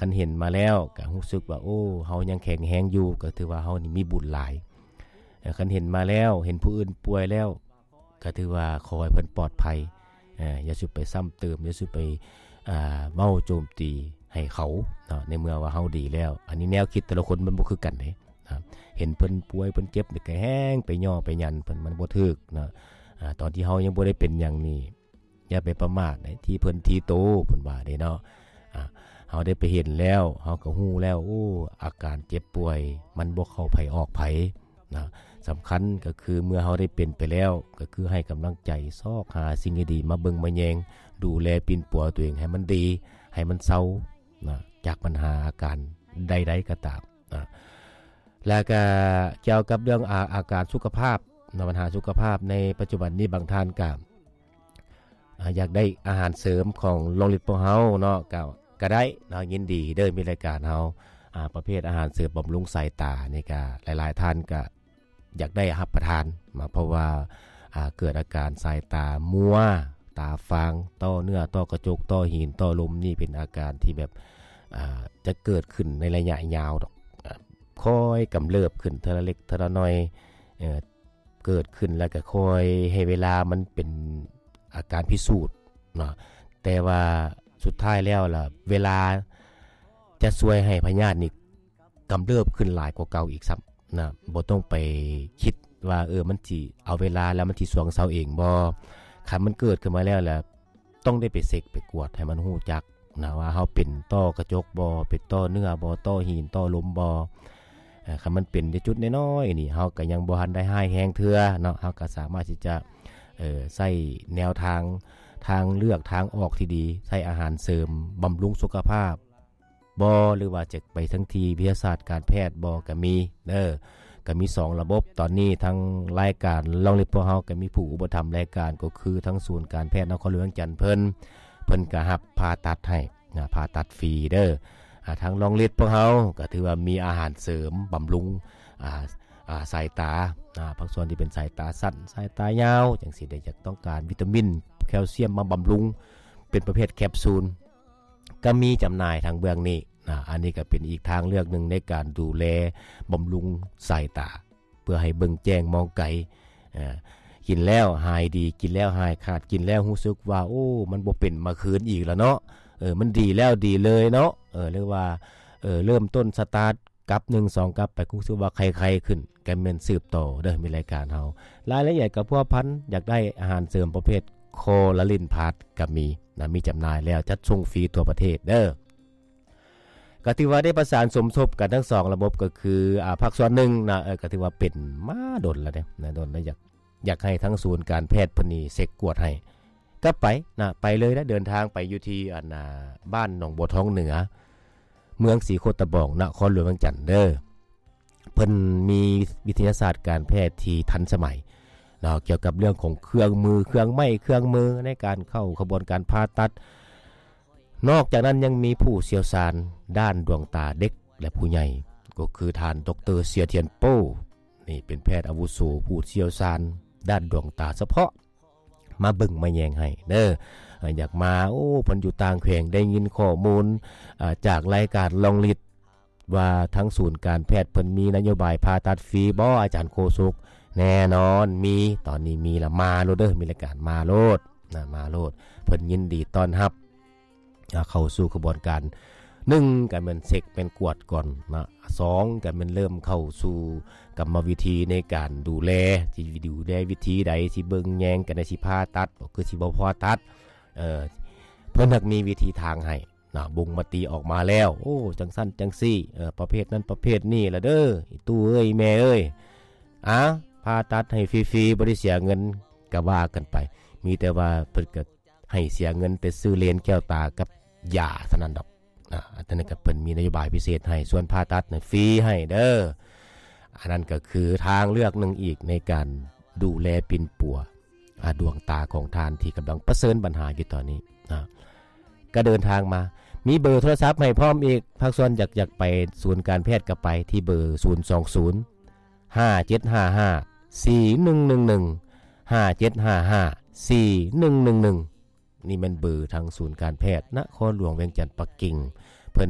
ຄັນເຫັນມາແລ້ວກໍຮູ້ສຶກວ່າ ໂອ້ ເຮົາຍັງແຂງແຮງຢູ່ ກໍຖືວ່າເຮົານີ້ມີບຸນຫຼາຍ. ເອີ ຄັນເຫັນມາແລ້ວ ເຫັນຜູ້ອື່ນປ່ວຍແລ້ວ ກໍຖືວ່າຂໍໃຫ້ເພິ່ນປອດໄພ. ເອີ ຢ່າສູ່ໄປຊ້ຳເຕີມ ຢ່າສູ່ໄປ ອ່າ ເວົ້າໂຈມຕີໃຫ້ເຂົາເນາະ ໃນເມື່ອວ່າເຮົາດີແລ້ວ. ອັນນີ້ແນວຄິດແຕ່ລະຄົນມັນບໍ່ຄືກັນເດ້. ອ່າ ເຫັນເພິ່ນປ່ວຍເພິ່ນເຈັບນີ້ກໍແຮງໄປຍໍ້ໄປຢັນເພິ່ນ ມັນບໍ່ຖືກເນາະ. ອ່າ ຕອນທີ່ເຮົາຍັງບໍ່ໄດ້ເປັນຫຍັງນີ້ ຢ່າໄປປະໝາດໃນທີ່ເພິ່ນທີ່ໂຕ ເພິ່ນວ່າເດ້ເນາະ. ອ່າ ເຮົາໄດ້ໄປເຫັນແລ້ວ ເຮົາກໍຮູ້ແລ້ວ ໂອ້ ອາການເຈັບປ່ວຍມັນບໍ່ເຂົ້າໃຜອອກໃຜນະ. ສຳຄັນກໍຄືເມື່ອເຮົາໄດ້ເປັນໄປແລ້ວ ກໍຄືໃຫ້ກຳລັງໃຈ ຊອກຫາສິ່ງດີໆມາເບິ່ງມາແຍງ ດູແລປິ່ນປົວຕົວເອງໃຫ້ມັນດີ ໃຫ້ມັນເຊົານະ ຈາກບັນຫາອາການໃດໆກໍຕາມນະ. ແລ້ວກໍກ່ຽວກັບເລື່ອງອາ ອາການສຸຂະພາບນະ ບັນຫາສຸຂະພາບໃນປັດຈຸບັນນີ້ ບາງທ່ານກໍ ອ່າ ຢາກໄດ້ອາຫານເສີມຂອງໂລງລິດພວກເຮົາເນາະ ກໍ ກໍໄດ້ເນາະ ຍິນດີເດີ ມີລາຍການເຮົາ ອ່າ ປະເພດອາຫານເສີມບຳລຸງສາຍຕານີ້ ກໍຫຼາຍໆທ່ານກໍຢາກໄດ້ຮັບປະທານມາ ເພາະວ່າ ອ່າ ເກີດອາການສາຍຕາມົວ ຕາຟາງ ຕໍ່ເນື້ອ ຕໍ່ກະຈົກ ຕໍ່ຫີນ ຕໍ່ລົມ ນີ້ເປັນອາການທີ່ແບບ ອ່າ ຈະເກີດຂຶ້ນໃນໄລຍະຍາວດອກ ອ່າ ຄ່ອຍກຳເລີບຂຶ້ນເທື່ອລະເລັກເທື່ອລະໜ້ອຍ ເອີ ເກີດຂຶ້ນແລ້ວກໍຄ່ອຍໃຫ້ເວລາມັນເປັນອາການພິສູດເນາະ. ແຕ່ວ່າສຸດທ້າຍແລ້ວລະ ເວລາຈະຊ່ວຍໃຫ້ພະຍາດນີ້ກຳເລີບຂຶ້ນຫຼາຍກວ່າເກົ່າອີກຊ້ຳນະ. ບໍ່ຕ້ອງໄປຄິດວ່າ ເອີ ມັນຊິເອົາເວລາແລ້ວມັນຊິຊວງເຊົາເອງບໍ່. ຄັນມັນເກີດຂຶ້ນມາແລ້ວລະ ຕ້ອງໄດ້ໄປເຊັກໄປກວດໃຫ້ມັນຮູ້ຈັກນະ ວ່າເຮົາເປັນຕໍ່ກະຈົກບໍ່ ເປັນຕໍ່ເນື້ອບໍ່ ຕໍ່ຫີນຕໍ່ລົມບໍ່. ເອີ ຄັນມັນເປັນແຕ່ຈຸດນ້ອຍໆນີ້ ເຮົາກໍຍັງບໍ່ທັນໄດ້ຮ້າຍແຮງເທື່ອເນາະ ເຮົາກໍສາມາດທີ່ຈະ ເອີ ໃຊ້ແນວທາງ ທາງເລືອກທາງອອກທີ່ດີ ໃຊ້ອາຫານເສີມບຳລຸງສຸຂະພາບບໍ່ ຫຼືວ່າຈະໄປທາງທີ່ວິທະຍາສາດການແພດບໍ່ ກໍມີເດີ. ກໍມີສອງລະບົບ ຕອນນີ້ທາງລາຍການລອງລິດພວກເຮົາກໍມີຜູ້ອຸປະຖຳລາຍການ ກໍຄືທາງສູນການແພດນະຄອນຫຼວງວຽງຈັນເພິ່ນ ເພິ່ນກໍຮັບຜ່າຕັດໃຫ້ນະ ຜ່າຕັດຟຣີເດີ. ອ່າ ທາງລອງລິດພວກເຮົາກໍຖືວ່າມີອາຫານເສີມບຳລຸງ ອ່າ ອ່າ ສາຍຕາ ອ່າ ພາກສ່ວນທີ່ເປັນສາຍຕາສັ້ນ ສາຍຕາຍາວ ຈັ່ງຊີ້ເດ້ ຢາກຕ້ອງການວິຕາມິນ ແຄລຊຽມມາບຳລຸງ ເປັນປະເພດແຄບຊູນ ກໍມີຈຳໜ່າຍທາງເບື້ອງນີ້ນະ. ອັນນີ້ກໍເປັນອີກທາງເລືອກໜຶ່ງໃນການດູແລບຳລຸງສາຍຕາ ເພື່ອໃຫ້ເບິ່ງແຈ້ງມອງໄກ. ເອີ ກິນແລ້ວຫາຍດີ ກິນແລ້ວຫາຍຂາດ ກິນແລ້ວຮູ້ສຶກວ່າ ໂອ້ ມັນບໍ່ເປັນມາຄືນອີກລະເນາະ. ເອີ ມັນດີແລ້ວດີເລີຍເນາະ. ເອີ ຫຼືວ່າ ເອີ ເລີ່ມຕົ້ນສະຕາດ ກັບໜຶ່ງສອງກັບໄປ ຮູ້ສຶກວ່າໄຄໆຂຶ້ນ ກໍແມ່ນສືບຕໍ່ເດີ ມີລາຍການເຮົາ. ລາຍລະອຽດກໍພົວພັນ ຢາກໄດ້ອາຫານເສີມປະເພດຄໍລາລິນພລັສກໍມີນະ ມີຈຳໜ່າຍແລ້ວ ຈັດສົ່ງຟຣີທົ່ວປະເທດເດີ. ກໍຖືວ່າໄດ້ປະສານສົມທົບກັນທັງສອງລະບົບ ກໍຄື ອ່າ ພາກສ່ວນໜຶ່ງນະ ເອີ ກໍຖືວ່າເປັນມາດົນແລ້ວເດ້ນະ ດົນແລ້ວ ຢາກ ຢາກໃຫ້ທາງສູນການແພດເພິ່ນນີ້ເຊັກກວດໃຫ້ ກໍໄປນະ ໄປເລີຍນະ ເດີນທາງໄປຢູ່ທີ່ ອັນ ອ່າ ບ້ານໜອງບົວທອງເໜືອ ເມືອງສີໂຄດຕະບອງ ນະຄອນຫຼວງວຽງຈັນເດີ. ເພິ່ນມີວິທະຍາສາດການແພດທີ່ທັນສະໄໝເນາະ ກ່ຽວກັບເລື່ອງຂອງເຄື່ອງມື ເຄື່ອງໄມ້ ເຄື່ອງມືໃນການເຂົ້າຂະບວນການຜ່າຕັດ. ນອກຈາກນັ້ນຍັງມີຜູ້ຊ່ຽວຊານດ້ານດວງຕາເດັກ ແລະ ຜູ້ໃຫຍ່ ກໍຄືທ່ານ ດອກເຕີ ເຊຍທຽນໂປ້ ນີ້ເປັນແພດອາວຸໂສຜູ້ຊ່ຽວຊານດ້ານດວງຕາສະເພາະ ມາເບິ່ງມາແຍງໃຫ້ເດີ. ເອີ ຢາກມາ ໂອ້ ເພິ່ນຢູ່ຕ່າງແຂວງ ໄດ້ຍິນຂໍ້ມູນ ເອີ ຈາກລາຍການລອງລິດ ວ່າທາງສູນການແພດເພິ່ນມີນະໂຍບາຍຜ່າຕັດຟຣີບໍ່ ອາຈານໂຄສົກ? ແນ່ນອນມີ ຕອນນີ້ມີລະ ມາໂລດເດີ ມີລາຍການມາໂລດນະ ມາໂລດ ເພິ່ນຍິນດີຕ້ອນຮັບ ອ່າ ເຂົ້າສູ່ຂະບວນການ ໜຶ່ງ ກໍແມ່ນເຊັກແມ່ນກວດກ່ອນນະ ສອງ ກໍແມ່ນເລີ່ມເຂົ້າສູ່ກຳມະວິທີໃນການດູແລ ຊິດູແລວິທີໃດ ຊິເບິ່ງແຍງກັນໃດ ຊິຜ່າຕັດບໍ່ ຄືຊິບໍ່ຜ່າຕັດ. ເອີ ເພິ່ນຫາກມີວິທີທາງໃຫ້ນະ ບົ່ງມະຕິອອກມາແລ້ວ ໂອ້ ຈັ່ງຊັ້ນຈັ່ງຊີ້ ເອີ ປະເພດນັ້ນປະເພດນີ້ລະເດີ ອີ່ຕູ້ເອີຍ ແມ່ເອີຍ ອາ ຜ່າຕັດໃຫ້ຟຣີໆ ບໍ່ໄດ້ເສຍເງິນ ກໍວ່າກັນໄປ ມີແຕ່ວ່າເພິ່ນກໍ ໃຫ້ເສຍເງິນແຕ່ຊື້ເລນແກ້ວຕາກັບຢາເທົ່ານັ້ນດອກນະ. ອັນນັ້ນກໍເພິ່ນມີນະໂຍບາຍພິເສດໃຫ້ ສ່ວນຜ່າຕັດນັ້ນຟຣີໃຫ້ເດີ. ອັນນັ້ນກໍຄືທາງເລືອກໜຶ່ງອີກໃນການດູແລປິ່ນປົວ ອາ ດວງຕາຂອງທ່ານທີ່ກຳລັງປະເຊີນບັນຫາຢູ່ຕອນນີ້ນະ. ກໍເດີນທາງມາ ມີເບີໂທລະສັບໃຫ້ພ້ອມອີກ ພາກສ່ວນຢາກ ຢາກໄປສູນການແພດກໍໄປທີ່ເບີ ສູນສອງສູນ ຫ້າເຈັດຫ້າຫ້າ ສີ່ໜຶ່ງໜຶ່ງໜຶ່ງ ຫ້າເຈັດຫ້າຫ້າ ສີ່ໜຶ່ງໜຶ່ງໜຶ່ງ. ນີ້ແມ່ນເບີທາງສູນການແພດນະຄອນຫຼວງວຽງຈັນປັກກິ່ງ